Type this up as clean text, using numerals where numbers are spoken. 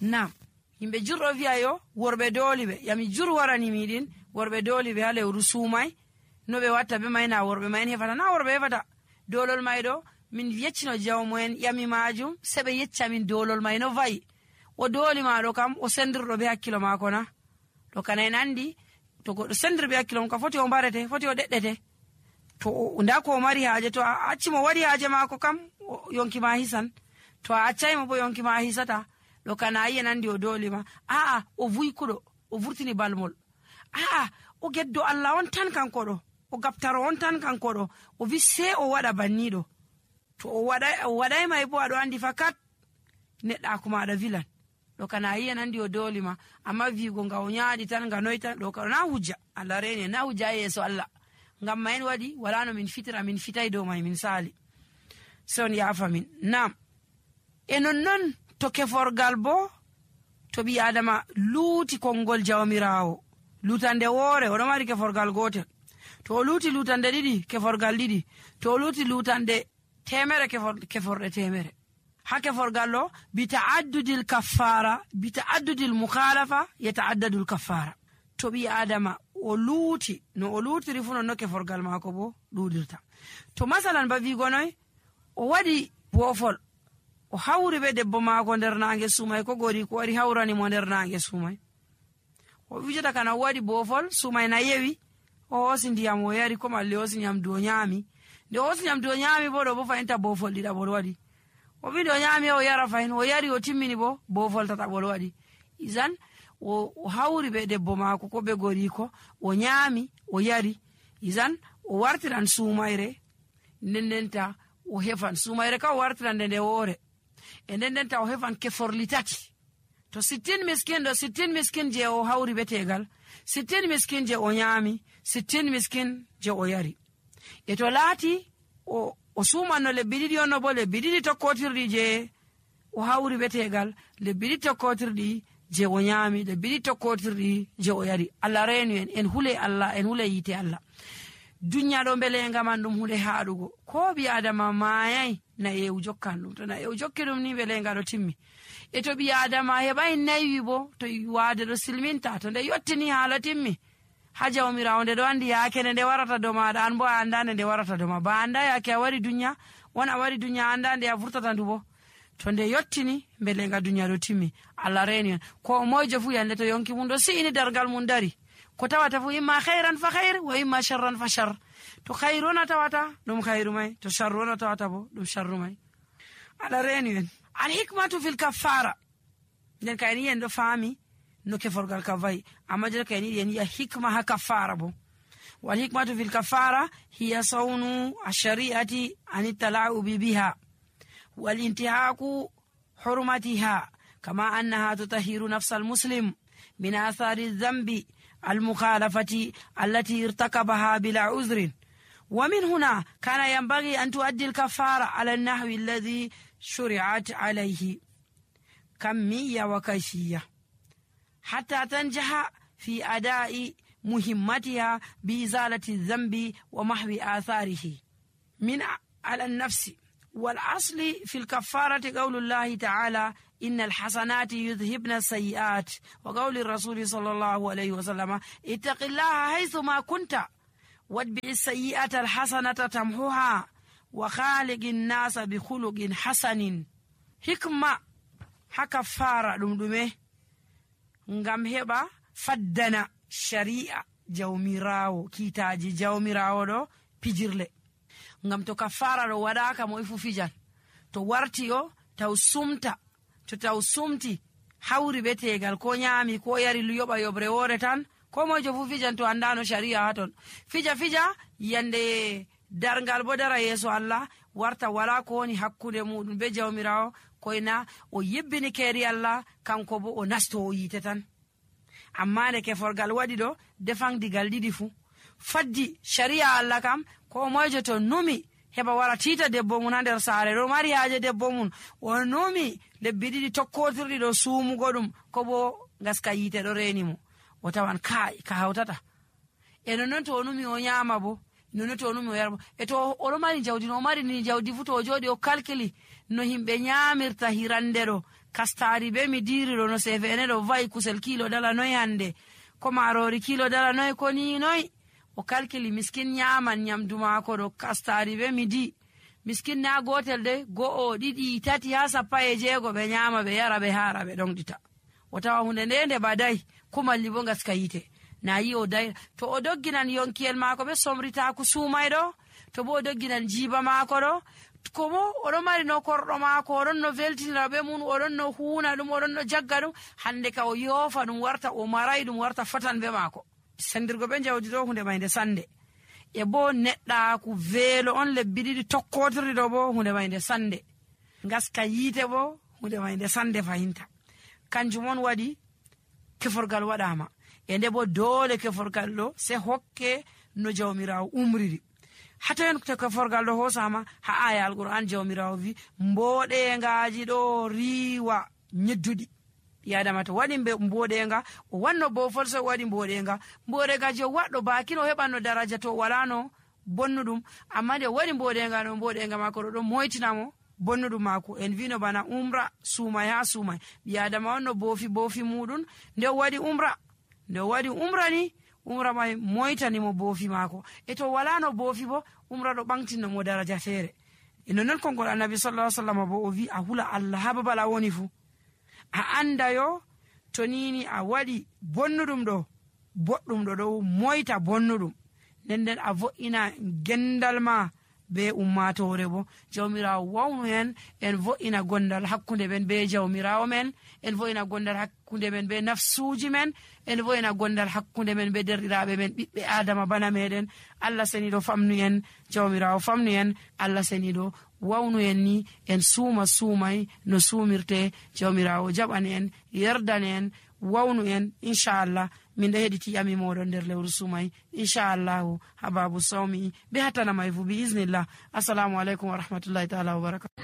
nam yimɓe jurɗo wi'a yo worɓe dooliɓe yami jur warani miɗin worɓe dooliɓe ha lewru suumay no ɓe watta be may na worɓe may en hefata na worɓe hefata dolol may ɗo min yeccino jawmo en yami majum se ɓe yecca min dolol may no vayi o dooli maɗo kam o sendirɗo be hakkilo maako na ɗo kana en andi to goɗɗo sendir be hakkilo mum ka foti o mbarete foti o ɗeɗɗete to nda ko o mari haaje to a accimo waɗi haaje maako kam yonki ma hisan to a accaymo bo yonki ma hisata ɗo kana yi en andi o doolima a'a o vuykuɗo o vurtini balmol a'a o geddo Allah on tan kanko ɗo o gaftaro on tan kanko ɗo o wi se o waɗa banniɗo to o waɗay may bo aɗo andi fakat neɗɗako maɗa vilan ɗo kana yi en andi o doolima amma wiigo nga o ñaaɗi tan nga noy tan ɗo ka na hujja Allah reni na hujja yeeso Allah ngam ma en waɗi wala no min fitira min fitay dow may min saali son yaafa min nam e nonnon to keforgal bo to ɓi adama luuti konngol jawmirawo lutande woore oɗo mari keforgal gotel to o luuti lutande ɗiɗi keforgal ɗiɗi to o luuti lutande temere keforɗe temere ha keforgal ɗo bita'addudil kaffara bita'addudil mukhalafa yata'addadul kaffara to ɓi adama o luuti no o luutiri fu nonno keforgal maako bo ɗuɗirta to masalan ba wigonoy o waɗi boofol o hawri be debbo maako nder nange sumay ko gori ko wari hawrani mo nder nange sumay o wijata kana o waɗi boofol sumay na yewi o hoosi ndiyam o yari ko malli hoosi nyamdu o nyaami nde o hoosi nyamdu o nyaami bo ɗo bo fayinta boofol ɗiɗaɓol waɗi o wi nde o nyaami o yara fayin o yari o timmini bo boofol tataɓol waɗi isan o hawri be debbo maako ko ɓe gori ko o nyaami o yari isan o wartiran sumayre ndendenta o hefan sumayre ka o wartiran nde woore e ndendenta o hefan keforli tati to 60 miskin ɗo 60 miskin je o hawri be tegal 60 miskin je o nyaami 60 miskin je o yari e to laati o sumanno lebbi ɗiɗi onno bo lebbi ɗiɗi tokkotirɗi je o hawri be tegal lebbi ɗiɗi tokkotirɗi je o nyaami lebbi ɗiɗi tokkotirɗi je o yari Allah reenu en hule Allah en hule yite Allah dunya ɗo belenga man ɗum hunde haɗugo ko ɓi adama mayay na yewu jokkan ɗum to na yewu jokki ɗum ni belenga ɗo timmi e to ɓi adama heɓay naywi bo to waade ɗo silminta to nde yottini haala timmi ha jawmirawo nde ɗo andi yaakene nde warata do maɗa an bo a andande nde warata do ma ba anda yaake a wari dunya won a wari dunya anda nde a vurtata ndu bo to nde yottini belenga dunya ɗo timmi Allah reeni en ko moyjo fu yande to yonki mum ɗo si'ini dargal mum dari ko tawata fu imma khairan fa khair wa imma sharran fa shar to khairu na tawata ɗum khairu may to sharru na tawata bo ɗum sharru may Allah reeni en al hikmatu fil kaffara nden kayni en ɗo faami no keforgal ka vayi amma jeno kayni en yi'a hikma ha kaffara bo wal hikmatu fil kaffara hiya sawnu ash-shari'ati an tala'ubi biha wal intihaku hurmatiha kama annaha tutahhiru nafsal muslim min athari dhanbi المخالفة التي ارتكبها بلا عذر ومن هنا كان ينبغي أن تؤدي الكفارة على النحو الذي شرعت عليه كمية وكيفية حتى تنجح في أداء مهمتها بإزالة الذنب ومحو آثاره من على النفس والأصل في الكفارة قول الله تعالى إن الحسنات يذهبن السيئات وقول الرسول صلى الله عليه وسلم اتق الله حيثما كنت واتبع السيئة الحسنة تمحوها وخالق الناس بخلق حسن حكمة كفارة دمدمه ngam heɓa faddana shari'a jawmirawo kiitaji jawmirawo ɗo pijirle ngam to kafara ɗo waɗaka mo ifu fijan to warti o taw sumta to taw sumti hawri be tegal ko nyaami ko yari yoɓa yoɓre woore tan ko mojo fu fijan to andano shari'a ha ton fija yande dargal bo dara yeeso Allah warta wala ko woni hakkude muɗum be jawmirawo koyna o yebbini keeri Allah kanko bo o nasto o yite tan amma nde keforgal waɗi ɗo defangdigal ɗiɗi fu faddi shari'a Allah kam ko mojo to numi heɓa wara tiita debbo mum ha nder saare ɗo mari haaje debbo mum o numi lebbi ɗiɗi tokkotirɗi ɗo suumugo ɗum ko bo gaska yite ɗo reeni mo o tawan ka hawtata e nonnon to o numi o nyaama bo nono to numi o yarbo e to oɗo mari jawdi no o mari ni jawdi fu to o jooɗi o kalkili no himɓe nyamirta hirande ɗo kastari be mi diri ɗo no sefene ɗo va'i kusel kilo dala noy hande ko marori kilo dala noy ko ni noy o kalkili miskin nyaman nyamdu maako ɗo kastari be midi miskin na gotel de go'o ɗiɗi tati ha 16 ɓe nyama ɓe yara ɓe hara ɓe ɗonɗita o tawa hunde nde badai ko malli bo gaska yite na yi o dai to o dogginan yonkiyel maako ɓe somritaku sumay ɗo to bo o dogginan jiba maako ɗo ko bo oɗon mari no korɗo maako oɗon no veltinira ɓe mun oɗon no huuna ɗum oɗon no jagga ɗum hande ka o yoofa ɗum warta o maray ɗum warta fatan be maako sendirgo ɓe jawdi ɗo hunde mayde sande e bo neɗɗaku veelo on lebbi ɗiɗi tokkotirɗi ɗo bo hunde mayde sande gaska yiite bo hunde mayde sande fahinta kanjum on waɗi keforgal waɗama e nde bo doole keforgal ɗo se hokke no jawmirawo umriri hatayen to keforgal ɗo hosama ha aya alquran jawmirawo wi mboɗengaji ɗo riwa nyedduɗi yadama to waɗi mboɗenga o wanno bofol so waɗi mboɗengaji o waɗɗo bakino heɓanno daraja to walano bonnuɗum amma nde waɗi mboɗenga no mboɗenga mako ɗo ɗon moytinamo bonnuɗum mako en vino bana umra sumay ha sumay yadama on no bofi muɗum nde waɗi umra ni umra may moytanimo boofi maako e to wala no boofi bo umra ɗo ɓamtino mo daraja feere e nonon konngol annabi sallallahu alaihi wasallam bo o wi a hula Allah ha babal a woni fu a anda yo to nini a waɗi bonnuɗum ɗo boɗɗum ɗo ɗo moyta bonnuɗum nden a vo'ina gendal ma be ummatore bo jawmirawo wawnu hen en vo'ina gondal hakkunde men be jawmirawo men en vo'ina gondal hakkunde men be nafsuji men en vo'ina gondal hakkunde men be derɗiraɓe men ɓiɓɓe adama bana meɗen Allah seniɗo famnu en jawmirawo famnu en Allah seniɗo wawnu en ni en sumay no sumirte jawmirawo jaɓani en yerdani en wawnu en inchallah min ɗo heɗiti yami moɗon nder lewru sumay inchallahu ha babu sawmi be hatanamay fu bi isnillah assalamu aleykum wa rahmatullahi taala wa barakatuh.